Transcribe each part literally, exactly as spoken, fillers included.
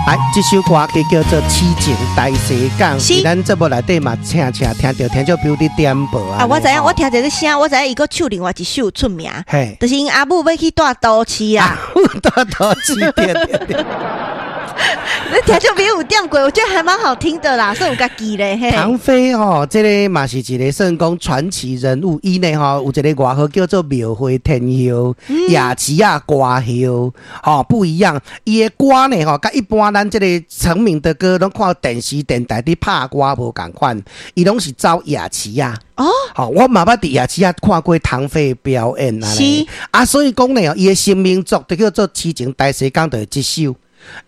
來，這首歌曲叫做《痴情大西港》，是佇咱節目內底嘛，請請聽著聽眾朋友佇點播啊。啊，我知影，我聽這個聲，我知影伊閣唱另外一首出名，嘿，就是𪜶阿母欲去蹛都市啊。蹛都市，對對對。你聽眾朋友有點過，我覺得還蠻好聽的啦，所以有共記咧。嘿。唐飛吼，這个嘛是一个算講傳奇人物。伊呢吼有一个外號叫做廟會天后、夜市仔歌后，吼不一樣。伊的歌呢吼，佮一般咱這個成名的歌，攏看電視電台佇拍歌無仝款，伊攏是走夜市仔。哦，吼，我嘛捌佇夜市仔看過唐飛的表演啊。是啊，所以講呢，伊的成名作就叫做《痴情大西港》，就是這首。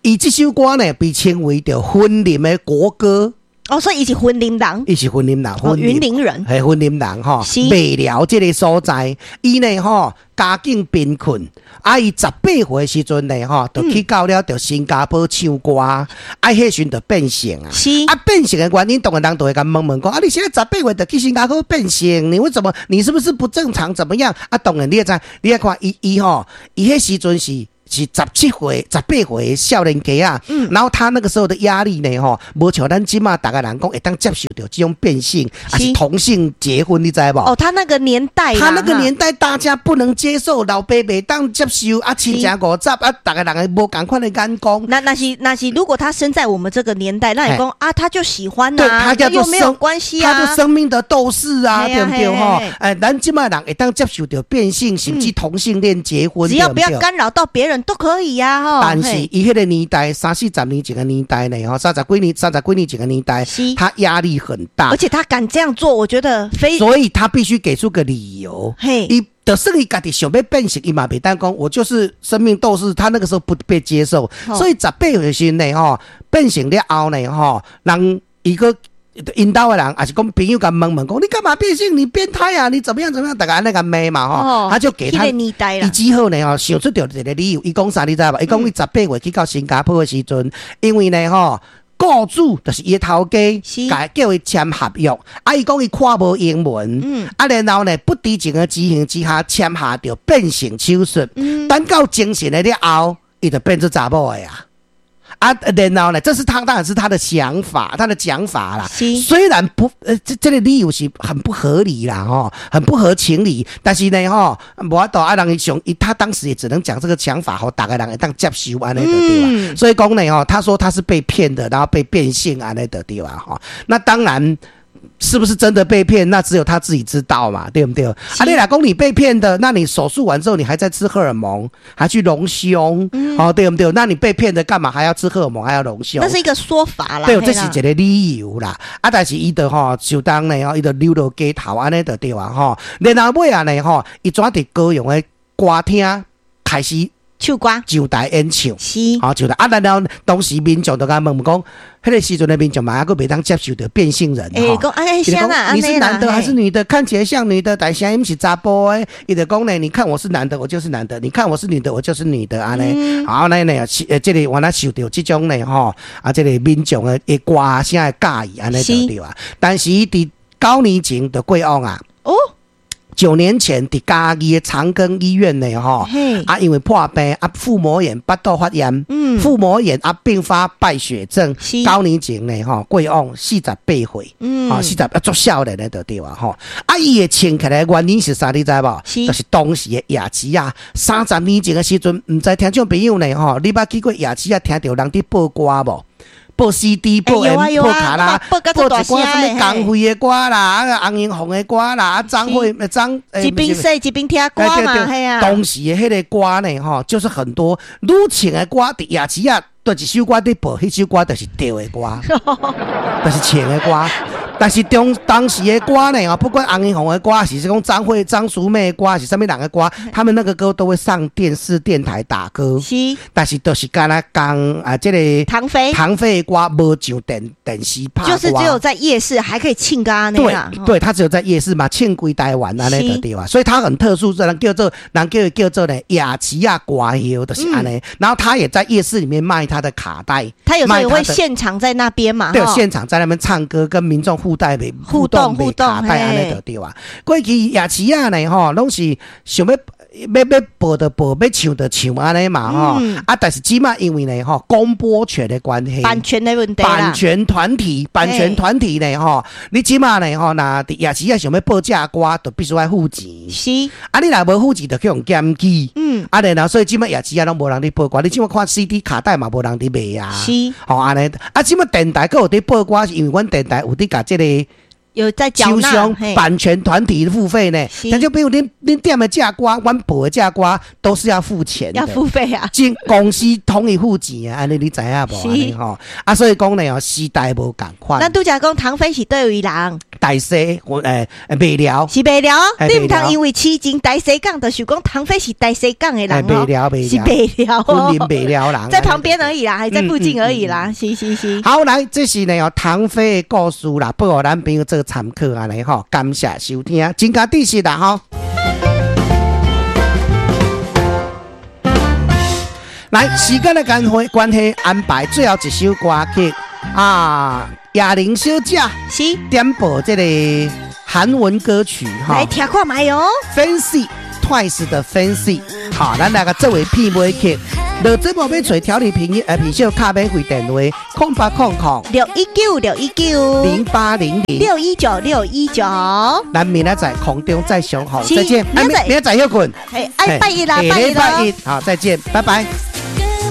伊這首歌呢，被稱為著雲林的國歌。哦，所以伊是雲林人。伊是雲林人，哦，雲林人，係雲林人吼。是麥寮這个所在，伊呢吼家境貧困，啊，伊十八歲時陣呢吼，就去到了著新加坡唱歌，啊，彼時陣就變性啊。是啊，變性的原因，當然人就會共問問講，啊，你現在十八歲就去新加坡變性，你為什麼？你是不是不正常？怎麼樣？啊，當然你也知，你也看伊伊吼，伊彼時陣是。是十七歲、十八歲的少年家啊，嗯然後他那個時候的壓力呢，吼，無像咱這馬逐个人講會當接受著這種變性，還是同性結婚，你知無？哦，他那個年代啦，他那個年代大家不能接受，老爸袂當接受，啊，親情五十，啊，逐个人無仝款的眼光。那那是那是，如果他生在我們這個年代，那你講啊，他就喜歡對，啊，他叫做又沒有關係啊，他就生命的鬥士啊，對不對？吼，哎，咱這馬人會當接受著變性，甚至同性戀結婚，只要不要干擾到別人都可以呀，吼。但是伊彼个年代，三四十年前的年代呢，吼，三十幾年、三十幾年前的年代，他壓力很大，而且他敢這樣做，我覺得非，所以他必須給出個理由。嘿，伊就算伊家己想欲變性，伊嘛袂當講，我就是生命鬥士。他那個時候不被接受，所以十八歲時呢，吼，變性了後呢，吼，人伊閣𪜶兜的人，抑是講朋友共問問講，你幹嘛變性？你變態啊？你怎麼樣怎麼樣？逐家按呢共罵嘛，吼，他就給他伊之後呢，吼，想出著一個理由，伊講啥你知無？伊講伊十八歲去到新加坡的時陣，因為呢，吼，雇主就是伊的頭家，共叫伊簽合約，啊，伊講伊看無英文，嗯啊，然後呢，不知情的情形之下簽下著變性手術，嗯等到精神的了後，伊就變做查某的啊。啊，然後呢，這是他當然是他的想法，他的講法啦。雖然不，呃，這這個理由是很不合理啦，吼，很不合情理。但是呢，吼，無法度啊，人伊想，他當時也只能講這個想法，予逐个人會當接受按呢就對吧？所以講呢，吼，他說他是被騙的，然後被變性按呢就對吧？吼，那當然。是不是真的被騙？那只有他自己知道嘛，對不對？啊，你若講你被騙的，那你手術完之後，你還在吃荷爾蒙，還去隆胸，哦，對不對？那你被騙的幹嘛還要吃荷爾蒙，還要隆胸？那是一個說法啦。對，這是一個理由啦。啊，但是伊就吼，就當呢，吼，伊就留落街頭按呢就對啊，吼。然後尾仔呢，吼，伊轉佇高雄的歌廳開始唱歌，上台演唱，是，吼，上台啊，然後當時民眾就共問問講，彼个時陣的民眾嘛，猶閣袂當接受著變性人，欸，講哎，你是男的還是女的？看起來像女的，但聲音是查埔的。伊就講呢，你看我是男的，我就是男的；你看我是女的，我就是女的。按呢，好，那呢，呃，這個原來受著這種呢，吼，啊，這個民眾的的歌聲的佮意，按呢就對啊。但是佇九年前就過往啊。哦。九年前，佇嘉義的長庚醫院呢，吼，啊，因為破病啊，腹膜炎、腹肚發炎，嗯，腹膜炎啊，併發敗血症。九年前呢，吼，過往四十八歲，嗯，四十啊，足少年的就對啊，吼，啊，伊會穿起來原因是啥？你知無？就是當時的夜市仔，三十年前的時陣，毋知聽眾朋友呢，吼，你捌去過夜市仔，聽著人佇播歌無？播 C D、播 M、播卡拉、播一寡啥物江蕙的歌啦，啊洪英鳳的歌啦，啊張惠張一邊洗一邊聽歌嘛，嘿啊。當時的彼个歌呢，吼，就是很多愈唱的歌，佇夜市仔，佗一首歌佇播，彼首歌就是對的歌，就是唱的歌。但是當當時的歌呢，不管洪英鳳的歌，還是講張惠張淑媚的歌，是啥物人的歌，他們那個歌都會上電視電台打歌。是，但是都是干焦講啊，這個唐飛唐飛的歌無上電電視拍歌。就是只有在夜市還可以唱歌那樣。對，對，他只有在夜市嘛，唱規台灣按呢就對啊，所以他很特殊，人叫做人叫叫做呢夜市仔歌后，就是按呢。然後他也在夜市裡面賣他的卡帶，他有時候也會現場在那邊嘛。對，現場在那邊唱歌，跟民眾互帶互動互動卡帶按呢就對啊。過去夜市仔呢，吼，攏是想欲欲欲播就播，欲唱就唱按呢嘛吼。嗯啊，但是這馬因為呢吼，公播權的關係，版權的問題啦。版權團體，版權團體呢吼，你這馬呢吼，若佇夜市仔想欲播這歌，就必須愛付錢。是，啊，你若無付錢，就去予檢舉。嗯，啊，然後所以這馬夜市仔攏無人佇播歌，你這馬看 C D 卡帶嘛無人佇賣啊。是，吼按呢，啊，這馬電台閣有佇播歌，是因為阮電台有佇共這個有在繳納廠商嘿版權團體付費呢。是但就比如恁恁點的這歌，阮播的這歌都是要付錢的。要付費啊。這公司統一付錢啊，按呢你知影無？是按呢吼，啊，所以講呢哦，時代無仝款。咱拄才講唐飛是佗位人？大西我誒麥寮，是麥寮，嘿你毋通因為市井大西港，就想講唐飛是大西港的人麥哦，寮，是麥寮，麥寮雲林哦，麥寮人，在旁邊而已啦，還在附近而已啦，是是是。好，來，這是呢哦，唐飛的故事啦，報予咱朋友做參考按呢吼，感謝收聽，真加知識啦吼。來，時間的關係關係，安排最後一首歌曲啊，亞玲小姐是，點播這個韓文歌曲哈來聽看覓哦。，Fancy Twice 的 Fancy，好，咱來共作為片尾曲。落節目欲揣調理品呃品秀敲免費電話，空八空空六一九六一九零八零零六一九六一九，咱明仔載空中再相逢，是再見。明仔載明仔載歇睏，哎，愛拜一啦，下拜一禮拜咯。一，好，再見，拜拜。